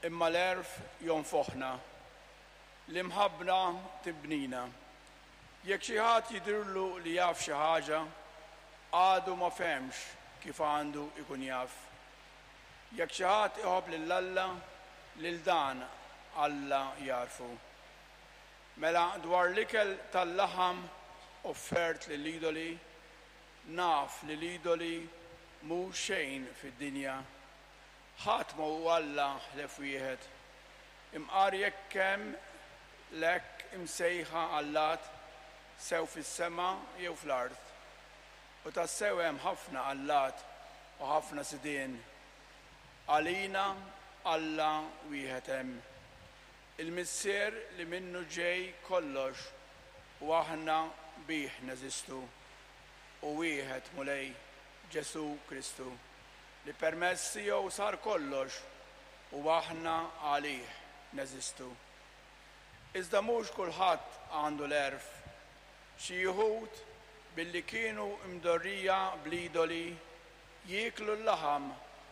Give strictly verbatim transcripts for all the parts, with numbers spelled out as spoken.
Imma l-għerf jonfoħna, l-imħabba tibnina. Jekk xi ħadd jidhirlu li jaf xi ħaġa, għadu ma fehemx kif għandu ikun jaf. Jekk xi ħadd iħobb lil Alla, lil dan Alla jagħrfu. Mela dwar l-ikel tal-laħam offert lill-idoli, naf li l-idoli mhu xejn fid-dinja. Ħadd ma hu Alla ħlief wieħed. Imqar jekk hemm l-hekk imsejħa allat sew fis-sema jew fl-art. U tassew hemm ħafna allat u ħafna sidien. Għalina Alla wieħed hemm. Il-Missier li minnu ġej kollox u aħna bih neżistu. U wieħed Mulej Ġesu Kristu li permezz tiegħu sar kollox u aħna għalih neżistu. Iżda mhux kulħadd għandu l-għerf. Xi wħud billi kienu mdorrija bl-idoli jieklu l-laħam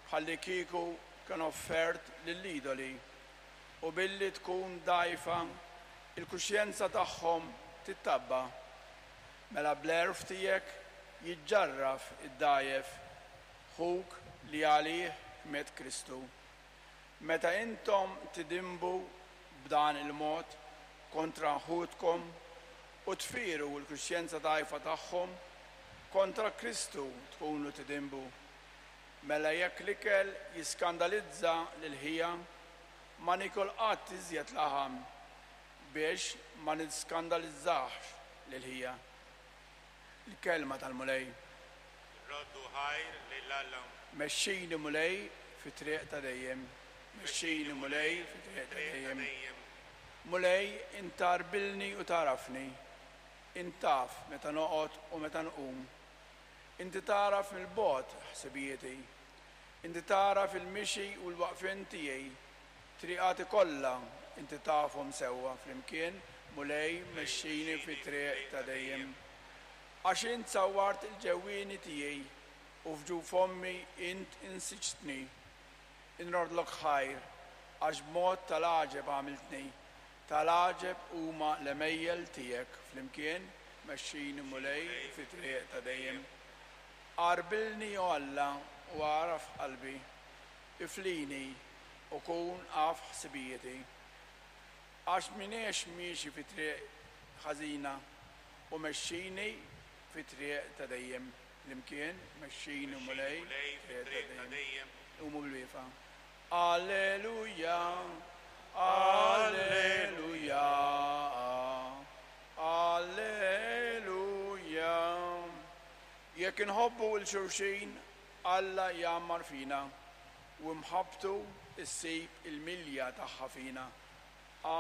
bħalli kieku kien offert lill-idoli u billi tkun dgħajfa il-kuxjenza tagħhom tittabba. Mela bl-għerf tiegħek jiġġarraf id-dgħajjef ħuk li għalih miet Kristu. Meta intom tidinbu b'dan il-mod kontra ħutkom u tfiru l-kuxjenza dgħajfa tagħhom, kontra Kristu tkunu tidinbu. Mela jekk l-ikel jiskandalizza lil ħija, ma nikol qatt iżjed laħam biex ma niskandalizzax lil ħija. Il-kelma tal-Mulej. Roddu ħajr lil Alla. Mexxini Mulej fi triq ta' dejjem. Mexxini Mulej fi triq ta' dejjem. Mulej int tgħarbilni u tagħrafni. Int taf meta noqgħod u meta nqum. Inti tagħraf mill-bogħod ħsibijieti. Inti tagħraf il-mixi u l-waqfien tiegħi. Triqati kollha inti tafhom sewwa flimkien, Mulej mexxini fi triq ta' dejjem. Għax int sawwart il-ġewwieni tiegħi u f'ġuf ommi int insiġtni. Inroddlok ħajr għax b'mod tal-għaġeb għamiltni. Tal-għaġeb huma l-għemejjel tiegħek flimkien mexxini Mulej fi triq ta' dejjem. Għarbilni o Alla u agħraf qalbi, iflini u kun af ħsibijieti. Għax m'iniex miexi fi triq ħażina u mexxini fi triq ta' dejjem. Flimkien mexxini Mulej fi triq ta' dejjem. Qumu bilwieqfa. Alleluja, Alleluja, Alleluja. Jekk inħobbu 'l xulxin, Alla jgħammar fina u mħabbtu ssib il-milja tagħha fina.